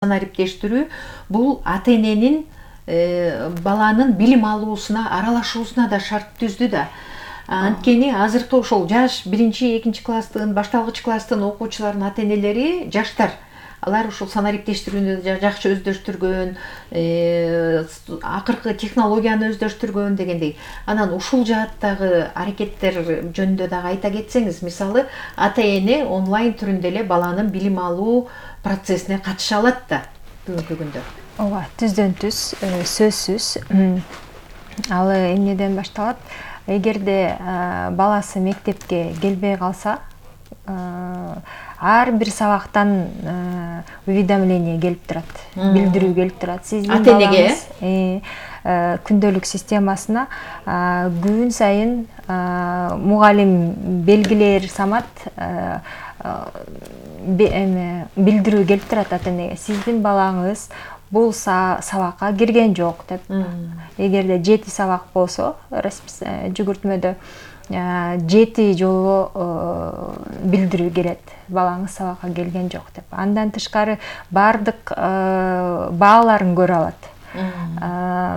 санариптештирүү бул ата-эненин баланын билим алуусуна, аралашуусуна да шарт түздү да. Анткени азыркы ошол жаш 1-2 класстын, башталгыч класстын окуучуларынын ата-энелери жаштар. Алар ушул санариптештирүүнү жакшы өздөштүргөн, акыркы технологияны өздөштүргөн дегендей. Анан ушул жааттагы аракеттер жөнүндө дагы айта кетсеңиз, мисалы, ата-эне онлайн түрүндө эле баланын билим алуу процессине катыша алат да бүгүнкү күндө. Ооба, түздөн түз, сөзсүз. Ал эмнеден башталат? Эгерде баласы мектепке келбей калса, ар бир сабактан уведомление келип турат, билдирүү келип турат. Сиздин балаңыз күндөлүк системасына күн сайын мугалим белгилер самат билдирүү келип турат ата-энеге. Сиздин балаңыз бул сабакка кирген жок деп. Эгерде 7 сабак болсо, жүгүртмөдө 7 жолу билдирүү келет. Балаңыз сабакка келген жок деп. Андан тышкары бардык бааларын көрө алат.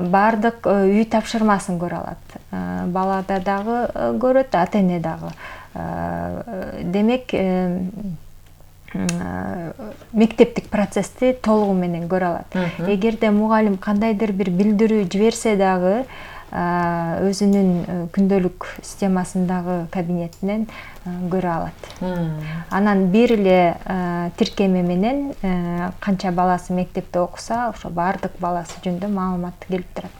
Бардык үй тапшырмасын көрө алат. Балада дагы көрөт, ата-эне дагы. Демек, мектептик процессти толугу менен көрө алат. Эгерде мугалим кандайдыр бир билдирүү жиберсе дагы, өзүнүн күндөлүк системасындагы кабинетинен көрө алат. Анан бир эле тиркеме менен канча баласы мектепте окуса, ошо бардык баласы жөнүндө маалымат келип турат.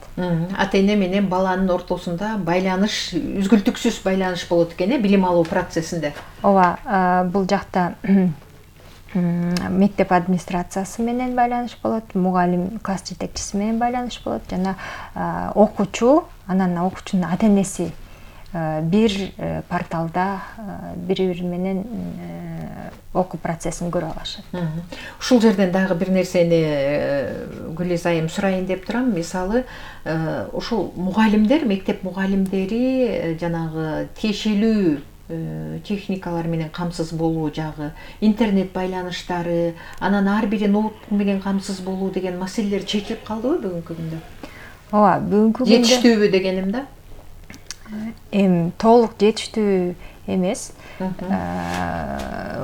Ата-эне менен баланын ортосунда байланыш, үзгүлтүксүз байланыш болот экен, билим алуу процессинде. Ооба, бул жакта мектеп администрациясы менен байланыш болот, мугалим класс жетекчиси менен байланыш болот, жана окуучу, анан окуучунун ата-энеси бир порталда бири-бири менен окуу процессин көрө алышат. Ушул жерден дагы бир нерсени Гүлиз айым сурайын деп турам. Мисалы, ушул мугалимдер, мектеп мугалимдери жанагы тиешелүү техникалар менен камсыз болуу жагы, интернет байланыштары, анан ар бири ноутбук менен камсыз болуу деген маселелер чечилип калдыбы бүгүнкү күндө? Ооба, бүгүнкү күндө жетиштүүбү дегеним да. Толук жетиштүү эмес.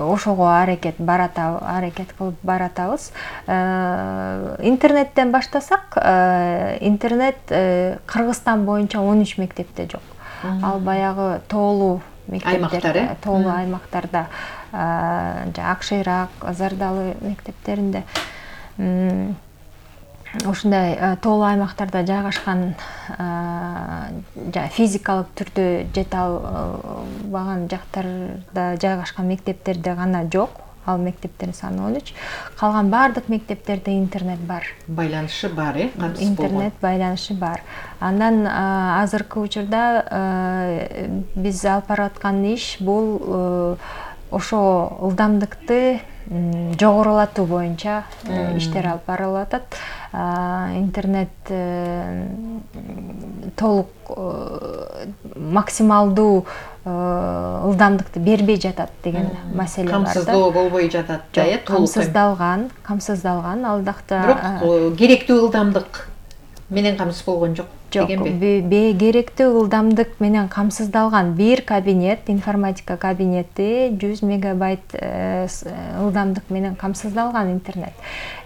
Ошого аракет кылып баратабыз. Интернеттен баштасак, интернет Кыргызстан боюнча 13 мектепте жок. Ал баягы тоолуу мектептер, тоолуу аймактарда, Акшыйрак, Зардалы мектептеринде, ушундай тоолуу аймактарда жайгашкан, физикалык түрдө жете албаган жактарда жайгашкан мектептерде гана жок. Ал мектептердин саны 13. Калган бардык мектептерде интернет бар. Байланышы бар, интернет байланышы бар. Андан азыркы учурда биз алып бараткан иш бул ошо ылдамдыкты жогорулатуу боюнча иштер алып барылып атат. Интернет толук максималдуу ылдамдыкты бербей жатат деген маселе бар да. Камсыздоо болбой жатат да, камсыздалган алдакта. Бирок керектүү ылдамдык менен камсыз болгон жок дегенби? Керектүү ылдамдык менен камсыздалган бир кабинет, информатика кабинети 100 мегабайт ылдамдык менен камсыздалган интернет.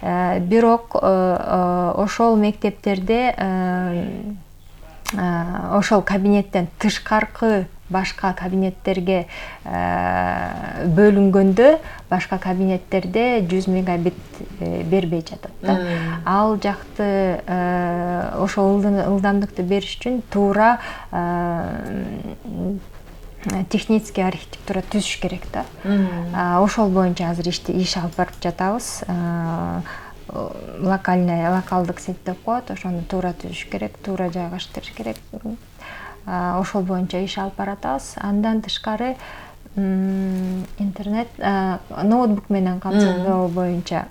Бирок ошол мектептерде ошол кабинеттен тышкаркы башка кабинеттерге бөлүнгөндө, башка кабинеттерде 100 мегабит бербей жатат да. Ал жакты ошол ылдамдыкты бериш үчүн туура технический архитектура түзүш керек да. Ошол боюнча азыр иш алып барып жатабыз. Локалдык сеть деп коет, ошону туура түзүш керек, туура жайгаштырыш керек. Ошол боюнча иш алып баратабыз. Андан тышкары интернет, ноутбук менен камсыздоо боюнча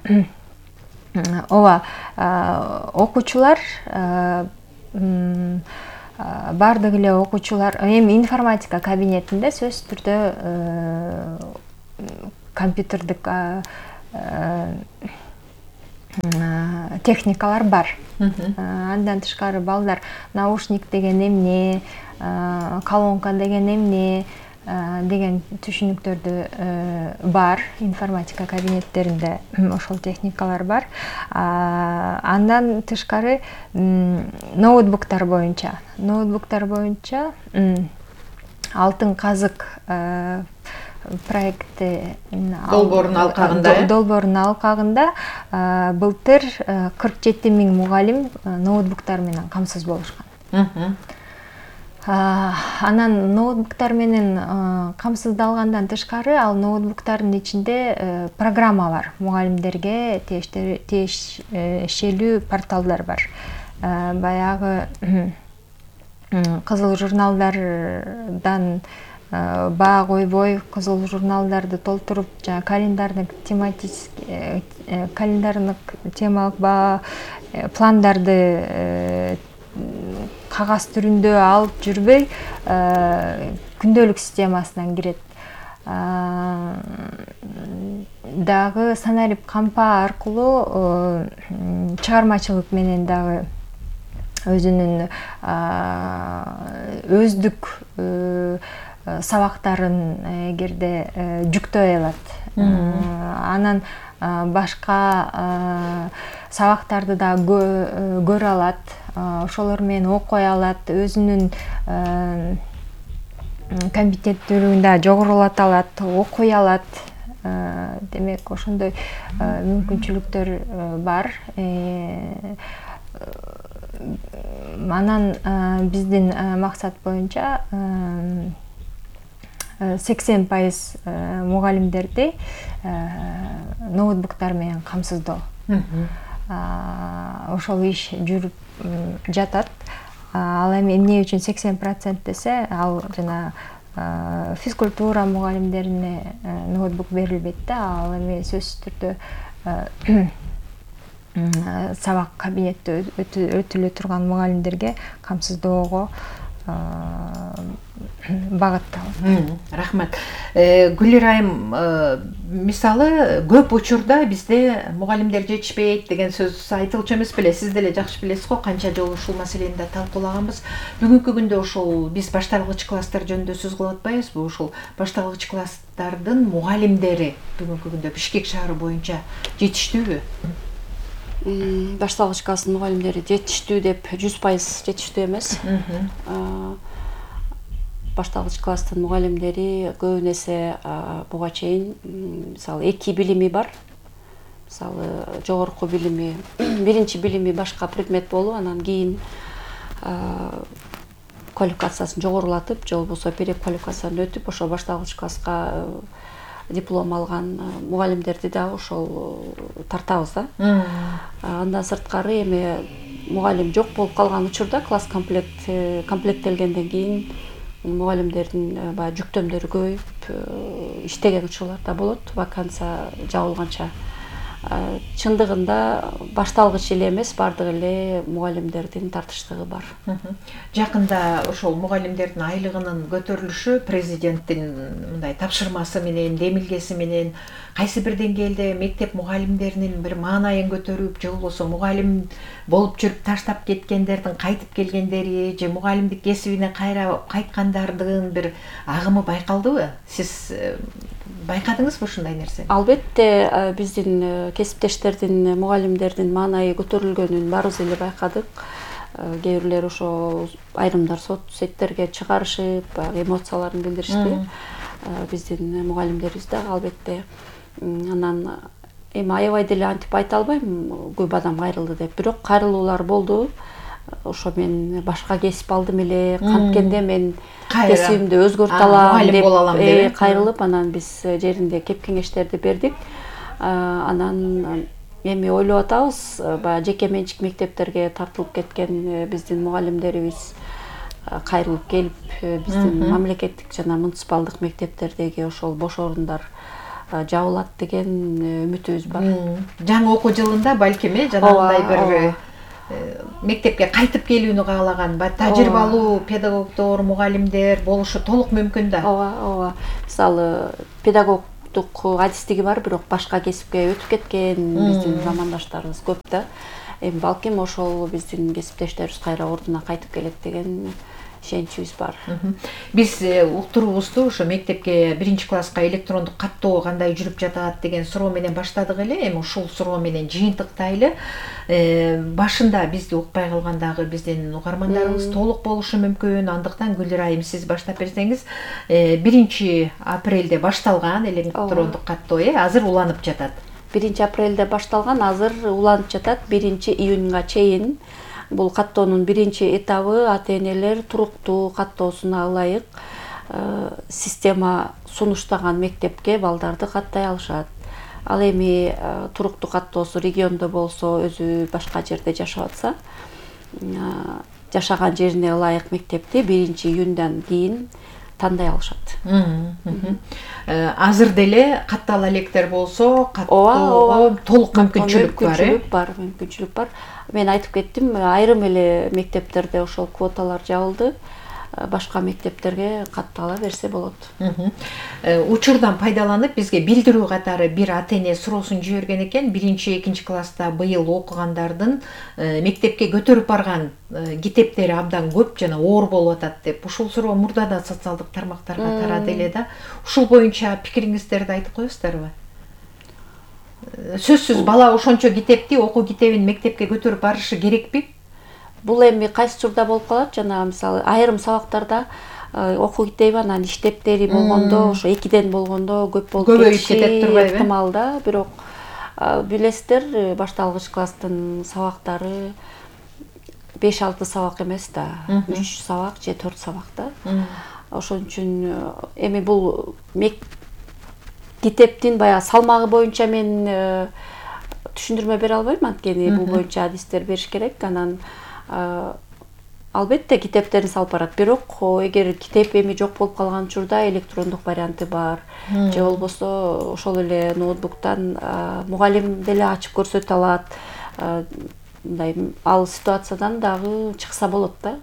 ооба, окуучулар, бардык эле окуучулар эми информатика кабинетинде сөзсүз түрдө компьютердик техникалар бар. Андан тышкары балдар наушник деген эмне, колонка деген эмне деген түшүнүктөрдү бар. Информатика кабинеттеринде ошол техникалар бар. Андан тышкары ноутбуктар боюнча Алтын казык проекти долбоорунун алкагында былтыр 47 000 мугалим ноутбуктар менен камсыз болушкан. Анан ноутбуктар менен камсыздалгандан тышкары ал ноутбуктардын ичинде программа бар. Мугалимдерге тиешелүү порталдар бар. Баягы кызыл журналдардан баа койбой, кызыл журналдарды толтуруп, жана календардык темалык баа пландарды кагаз түрүндө алып жүрбөй, күндөлүк системасынан кирет. Дагы санарип кампа аркылуу чыгармачылык менен дагы өзүнүн өздүк сабактарын эгерде жүктөй алат. Анан башка сабактарды да көрө алат, ошолор менен окуй алат, өзүнүн компетенттүүлүгүн жогорулата алат, окуй алат. Демек, ошондой мүмкүнчүлүктөр бар. Анан биздин максат боюнча 80% мугалимдерди ноутбуктар менен камсыздоо. Ошол иш жүрүп жатат. Ал эми эмне үчүн 80% десе, ал жана физкультура мугалимдерине ноутбук берилбейт да, ал эми сөзсүз түрдө сабак кабинетте өтүлө турган мугалимдерге камсыздоого багытталган. Рахмат. Гүлир айым, мисалы көп учурда бизде мугалимдер жетишпейт деген сөз айтылчу эмес беле? Сиз деле жакшы билесиз го, канча жолу ушул маселени да талкуулаганбыз. Бүгүнкү күндө ушул биз башталгыч класстар жөнүндө сөз кылып атпайбызбы? Ушул башталгыч класстардын мугалимдери бүгүнкү күндө Бишкек шаары боюнча жетиштүүбү? Башталгыч класстын мугалимдери жетиштүү деп 100% жетиштүү эмес. Башталгыч класстын мугалимдери көбүн эсе буга чейин мисалы 2 билими бар. Мисалы жогорку билими, биринчи билими башка предмет болуп, анан кийин квалификациясын жогорулатып, же болбосо переквалификациядан өтүп, ошо башталгыч класска диплом алган мугалимдерди да ошол тартабыз да. Андан сырткары эми мугалим жок болуп калган учурда класс комплекттелгенден кийин мугалимдердин баягы жүктөмдөрү көбөйүп иштеген учурлар да болот, вакансия жабылганча. Чындыгында башталгыч эле эмес, бардык эле мугалимдердин тартыштыгы бар. Жакында ошол мугалимдердин айлыгынын көтөрүлүшү президенттин мындай тапшырмасы менен, демилгеси менен кайсы бир деңгээлде мектеп мугалимдеринин бир маанайын көтөрүп, же болбосо мугалим болуп жүрүп таштап кеткендердин кайтып келгендери, же мугалимдик кесибине кайра кайткандардын бир агымы байкалдыбы? Сиз байкадыңызбы ушундай нерсе? Албетте, биздин кесиптештердин, мугалимдердин маанайы көтөрүлгөнүн баарыбыз эле байкадык. Кээ бирлер ошо айрымдар соцсеттерге чыгарышып, эмоцияларын билдиришти. Биздин мугалимдерибиз да албетте. Анан эми аябай деле антип айта албайм, көп адам кайрылды деп, бирок кайрылуулар болду. Ошо мен башка кесип алдым эле, канткенде мен кесибимди өзгөртө алам деп кайрылып, анан биз жеринде кеп кеңештерди бердик. Анан эми ойлоп атабыз, баягы жеке менчик мектептерге тартылып кеткен биздин мугалимдерибиз кайрылып келип, биздин мамлекеттик жана муниципалдык мектептердеги ошол бош орундар жабылат деген үмүтүбүз бар. Жаңы окуу жылында балким жанагындай бир мектепке кайтып келүүнү каалаган тажрыйбалуу педагогдор, мугалимдер болушу толук мүмкүн да. Ооба. Мисалы педагог туруктук адистиги бар, бирок башка кесипке өтүп кеткен биздин замандаштарыбыз көп да. Эми балким ошол биздин кесиптештерибиз кайра ордуна кайтып келет деген ишеничибиз бар. Биз уктуруубузду ошо мектепке 1-класска электрондук каттоо кандай жүрүп жатат деген суроо менен баштадык эле. Эми ушул суроо менен жыйынтыктайлы. Башында бизди укпай калган дагы биздин угармандарыбыз толук болушу мүмкүн. Андыктан Гүлира айым сиз баштап берсеңиз, 1-апрелде башталган электрондук каттоо азыр уланып жатат. 1-апрелде башталган, азыр уланып жатат 1-июнга чейин. Бул каттоонун биринчи этабы ата-энелер туруктуу каттоосуна ылайык система сунуштаган мектепке балдарды каттай алышат. Ал эми туруктуу каттоосу региондо болсо, өзү башка жерде жашап атса, жашаган жерине ылайык мектепти 1-июндан кийин тандай алышат. Азыр деле каттала электер болсо, каттоого толук мүмкүнчүлүк бар. Мен айтып кеттим, айрым эле мектептерде ошол квоталар жабылды. Башка мектептерге каттала берсе болот. Учурдан пайдаланып бизге билдирүү катары бир ата-эне суроосун жиберген экен. 1-2 класста быйыл окугандардын мектепке көтөрүп барган китептери абдан көп жана оор болуп атат деп. Ушул суроо мурда да социалдык тармактарга тарады эле да. Ушул боюнча пикириңиздерди айтып коесуздарбы? Сөзсүз бала ошончо китепти, окуу китебин мектепке көтөрүп барышы керекпи? Бул эми кайсы учурда болуп калат, жана мисалы айрым сабактарда окуу китеби анан иштептери болгондо, ошо 2ден болгондо көп болуп кетиши ыктымал да. Бирок билесиздер, башталгыч класстын сабактары 5-6 сабак эмес да, 3 сабак же 4 сабак да. Ошон үчүн эми бул китептин баягы салмагы боюнча мен түшүндүрмө бере албайм, анткени бул боюнча адистер бериш керек. Анан албетте китептерин салып барат, бирок эгер китеп эми жок болуп калган учурда электрондук варианты бар, же болбосо ошол эле ноутбуктан мугалим деле ачып көрсөтө алат. Мындай ал ситуациядан дагы чыкса болот да.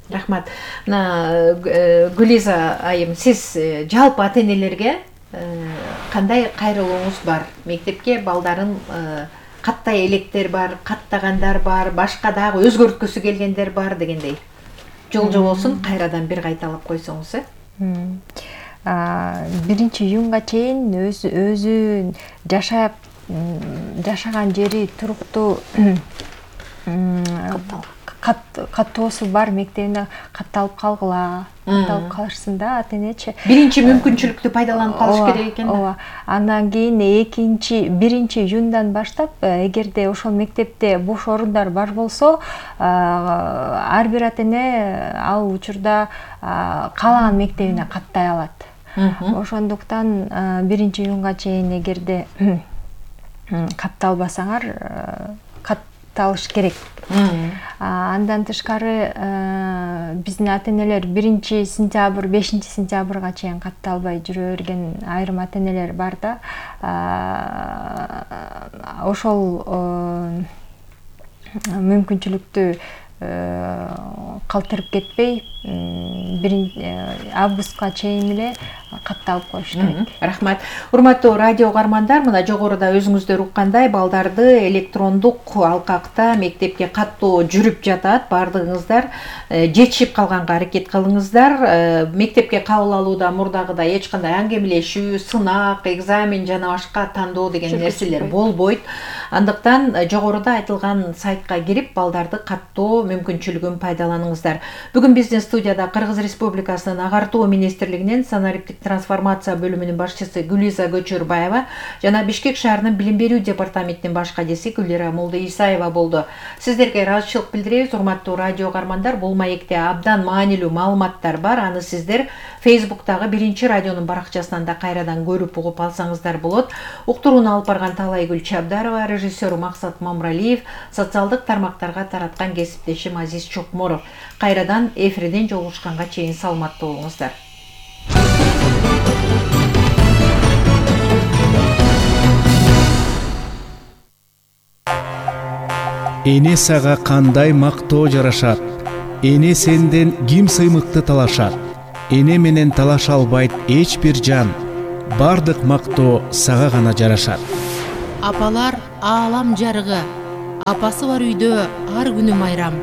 Рахмат. Мына Гүлиза айым, сиз жалпы ата-энелерге кандай кайрылууңуз бар? Мектепке балдарын каттай электер бар, каттагандар бар, башка дагы өзгөрткүсү келгендер бар дегендей. Жол болсун, кайрадан бир кайталап койсоңуз. 1-июнга чейин өзү жашаган жери туруктуу каттоосу бар мектебине катталып калгыла, катталып калышсын да ата-энечи. Биринчи мүмкүнчүлүктү пайдаланып калыш керек экен. Ооба. Андан кийин 1-июндан баштап, эгерде ошол мектепте бош орундар бар болсо, ар бир ата-эне ал учурда каалаган мектебине каттай алат. Ошондуктан 1-июнга чейин эгерде катталбасаңар, катталыш керек. Андан тышкары биздин ата-энелер 1-сентябрь, 5-сентябрга чейин катталбай жүрө берген айрым ата-энелер бар да. Ошол мүмкүнчүлүктү калтырып кетпей, 1-августка чейин эле катталып коюш керек. Рахмат. Урматтуу радио угармандар, мына жогоруда өзүңүздөр уккандай балдарды электрондук алкакта мектепке каттоо жүрүп жатат. Бардыгыңыздар жетишип калганга аракет кылыңыздар. Мектепке кабыл алууда мурдагыдай эч кандай аңгемелешүү, сынак, экзамен жана башка тандоо деген нерселер болбойт. Андыктан жогоруда айтылган сайтка кирип балдарды каттоо мүмкүнчүлүгүн пайдаланыңыздар. Бүгүн биздин студияда Кыргыз Республикасынын Агартуу министрлигинин санариптик трансформация бөлүмүнүн башчысы Гүлиза Көчөрбаева жана Бишкек шаарынын билим берүү департаментинин баш кадиси Гүлира Молдоисаева болду. Сиздерге ыраазычылык билдиребиз, урматтуу радио угармандар. Бул маекте абдан маанилүү маалыматтар бар. Аны сиздер Facebook'тагы 1-радионун баракчасынан да кайрадан көрүп угуп алсаңыздар болот. Уктурууну алып барган Талайгүл Чабдарова, режиссер Максат Мамралиев, социалдык тармактарга тараткан кесиптешим Азиз Чокморов. Кайрадан эфирден жолугушканга чейин саламаттуу болуңуздар. Эне сага кандай мактоо жарашат? Эне сенден ким сыймыкты талашат? Эне менен талаша албайт эч бир жан. бардык мактоо сага гана жарашат. Апалар аалам жарыгы, апасы бар үйдө ар күнү майрам.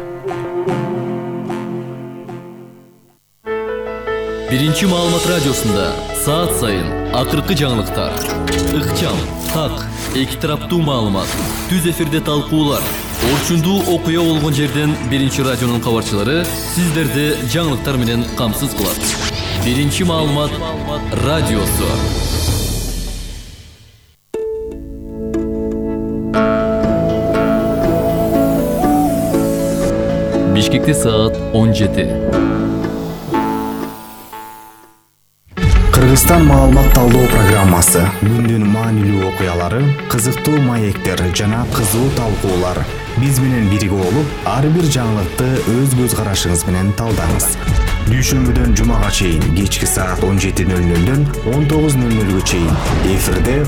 Биринчи маалымат радиосунда саат сайын акыркы жаңылыктар, ыкчам, так, эки тараптуу маалымат, түз эфирде талкуулар, орчундуу окуя болгон жерден Биринчи радионун кабарчылары сиздерди жаңылыктар менен камсыз кылат. Биринчи маалымат радиосу. Бишкекте саат 17. Кыргызстан маалымат талдоо программасы. Күндүн маанилүү окуялары, кызыктуу маектер жана кызуу талкуулар. Биз менен бирге болуп, ар бир жаңылыкты өз көз карашыңыз менен талдаңыз. Дүйшөмбүдөн жумага чейин кечки саат 17:00дөн 19:00га чейин эфирде